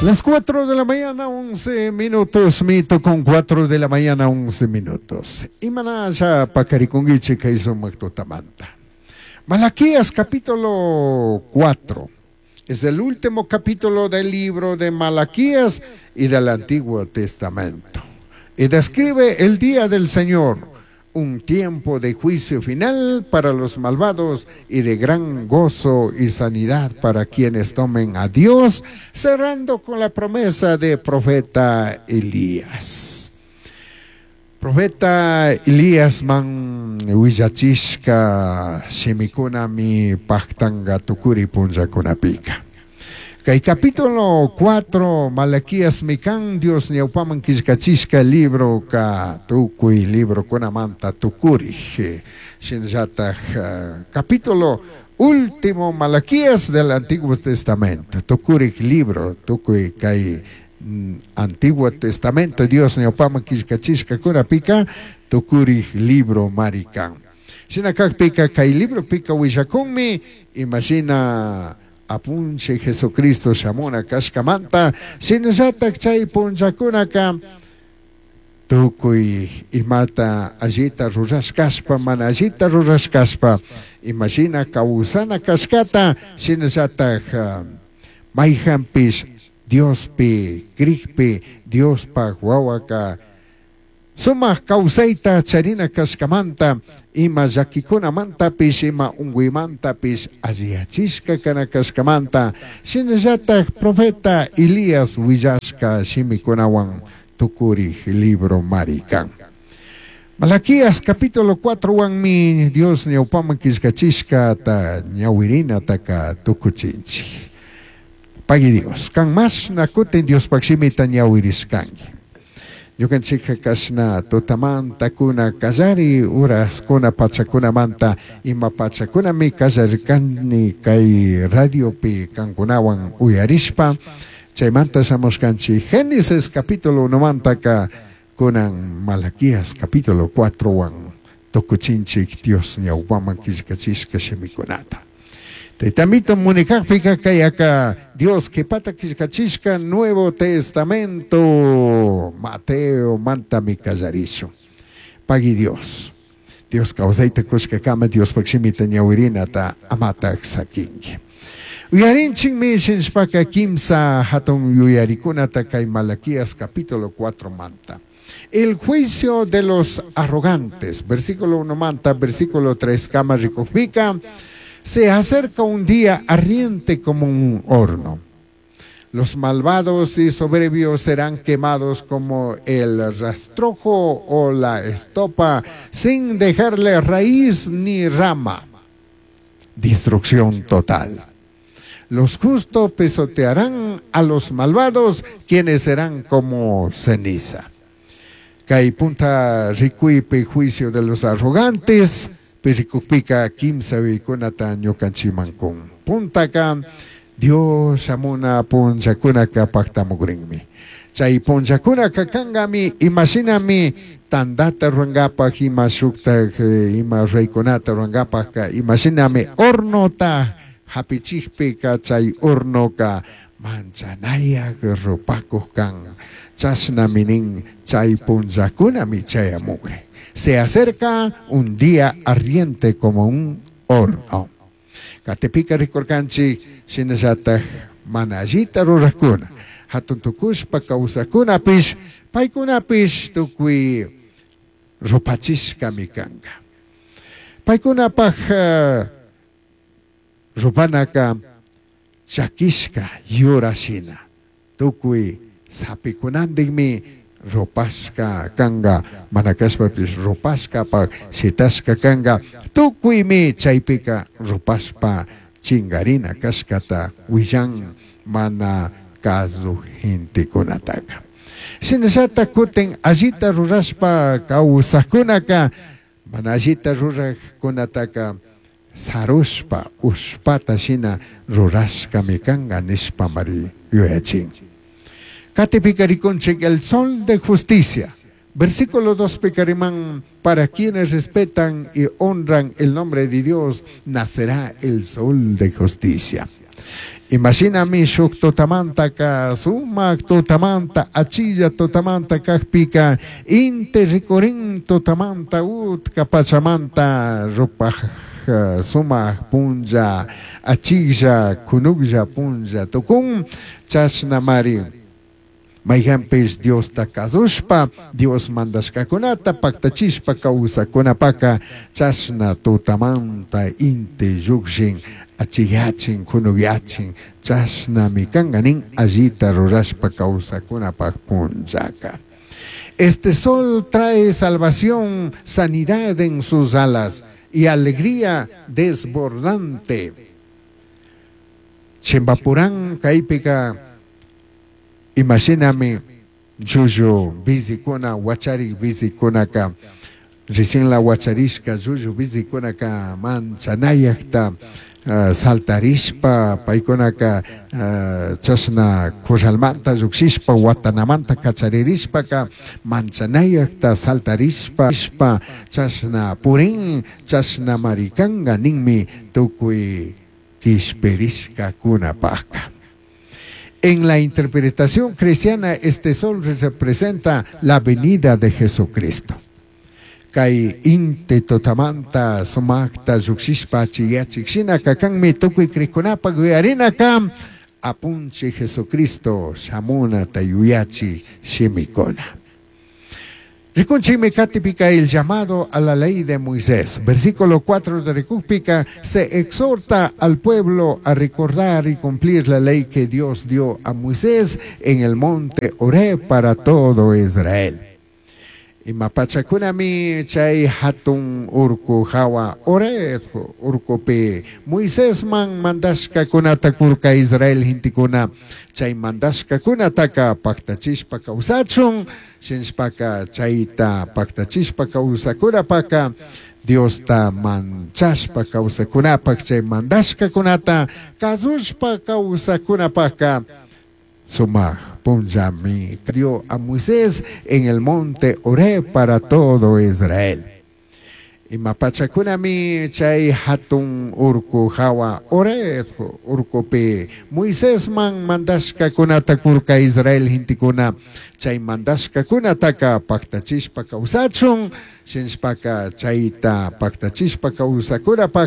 Las 4 de la mañana, 11 minutos, mito con 4 de la mañana, 11 minutos. Imanasha paqarikunguichik kay sumaq tutamanta. Malaquías capítulo 4. Es el último capítulo del libro de Malaquías y del Antiguo Testamento. Y describe el día del Señor, un tiempo de juicio final para los malvados y de gran gozo y sanidad para quienes tomen a Dios, cerrando con la promesa de profeta Elías. Profeta Elías man willachishka shimikunami pajtanga tukuri punllakunapika. Kay capítulo 4 Malaquías mi kan Dios ñawpaman killkachishka libro ka tukuy librokunamanta tukuri. Shinallataj capítulo último Malaquías del Antiguo Testamento. Tukurik libro tukuy kay Antiguo Testamento Dios ñawpaman killkachishka kunapika tukurik libro marikan. Shina kakpika kay libro pika willakunmi imashina apunche Jesucristo shamuna kashkamanta shinallatak chay punllakunaka tukuy imata allita rurashkashpa mana allita rurashkashpa imashina kawsana kashkata shinallatak mayjanpish Diospi krikpi Diospaj wawaka sumaq kawsayta charina kashkamanta ima llakikunamantapis ima unkuymantapish alliyachishka kana kashkamanta shinallatak profeta Elías willashka shimikunawan tukurik libro marikan. Malaquías capítulo 4 wanmi Dios ñawpaman killkachishka ta ñawirinataka tukuchinchik. Pagui Dios, kan mashna kutin Diospaj shimita ñawirishkanki. Ñukanchikka kashna tutamanta kuna kallari uraskuna pachakunamanta ima pachakunami kallarikani kay radiopi kankunawan uyarishpa chaymanta shamushkanchik Génesis capítulo 1 mantaka kunan Malaquías capítulo 4 wan tukuchinchik Dios ñawpaman killkachishka shimikunata. Taytamito munikakpika kay aka Dios qhipata killkachishka Nuevo Testamento Mateo mantami kallarishun. Pagui Dios. Dios kawsayta kushkakama Diospaj shimita ñawirinata amataj sakinki. Uyarinchikmi shinshpaka kimsa hatun yuyarikunata kay Malaquías capítulo 4 manta. El juicio de los arrogantes, versículo 1 manta, versículo 3 kama rikukpika, se acerca un día ardiente como un horno. Los malvados y soberbios serán quemados como el rastrojo o la estopa, sin dejarle raíz ni rama. Destrucción total. Los justos pisotearán a los malvados, quienes serán como ceniza. Kay punta rikuypi juicio de los arrogantes, pirikukpika kimsa yuyaykunata ñukanchikman kun. Puntaka Dios shamuna punllakunaka paktamukrinmi. Chay punllakunaka kankami imashinami tandata rurankapak ima shuktak ima raykunata rurankapakka imashinami hornota hapichikpika chay hornoka manchanayak rupakuk kan. Chashnami nin chay punllakunami chayamukrin. Se acerca un día ardiente como un horno. Katipika rikurkanchik shinallataj mana allita rurakkuna. Hatun tukushpa kawsakunapish paykunapish tukuy rupachishkami kanka. Paykunapaj rupanaka chakishka yura shina. Tukuy sapikunantikmi rupashka kanka, mana kashpapish rupashkapaj shitashka kanka, tukuymi chaypika rupashpa chinkarina kashkata willan mana kazu gentekunataka. Shinallata kutin allita rurashpa kawsajkunaka, mana allita rurajkunataka sarushpa ushpata shina rurashkami kanka nishpa mari yuyachin. Katipika rikunchik el sol de justicia. Versículo 2 picarimán, para quienes respetan y honran el nombre de Dios, nacerá el sol de justicia. Imashinami shuk tutamantaka sumak tutamanta achilla tutamanta kakpika inti rikurin tutamanta utka pachamanta rupaj sumak punlla achilla kunuklla punlla tukun chashnamari mayhanpish Diosta kazushpa Dios mandashkakunata paktachishpa kawsakunapaka chashna tutamanta inti llukshin achiyachin kunukyachin chashnami kanka nin allita rurashpa kawsakunapak punllaka. Este sol trae salvación, sanidad en sus alas y alegría desbordante. Chimpapuran kaypika imashinami llullu bizikuna wacharik bizikunaka recién la wacharishka llullu bizikunaka manchanayakta saltarishpa paykunaka chashna corralmanta llukshishpa watanamanta kacharirishpaka manchanayakta saltarishpa chashna purin chashna marikanka ninmi tukuy kishpirishkakunapaka. En la interpretación cristiana, este sol representa la venida de Jesucristo. Kay inti tutamanta sumakta llukshishpa achiyachik shinaka kanmi tukuy krikunapak yuyarinaka apunchik Jesucristo shamunata yuyachi shimikuna. Rikunchikmi katipika el llamado a la ley de Moisés. Versículo 4 de Rikukpika se exhorta al pueblo a recordar y cumplir la ley que Dios dio a Moisés en el monte Horeb para todo Israel. Ima pachakunami chay hatun urku hawa Horeb urkupi Moisesman mandashkakunata kurka Israel hintikuna chay mandashkakunataka paktachishpa kawsachun shinshpaka chayta paktachishpa kawsakunapaka Diosta manchashpa kawsakunapak chay mandashkakunata kasushpa kawsakunapaka sumak punllami dio a Moisés en el monte Horeb para todo Israel. Ima pachakunami chay hatun urku hawa Horeb urkupi Moisesman mandashkakunata kurka Israel hintikuna chay mandashkakunataka paktachishpa kawsachun shinshpaka chayta paktachishpa kawsakunapaka.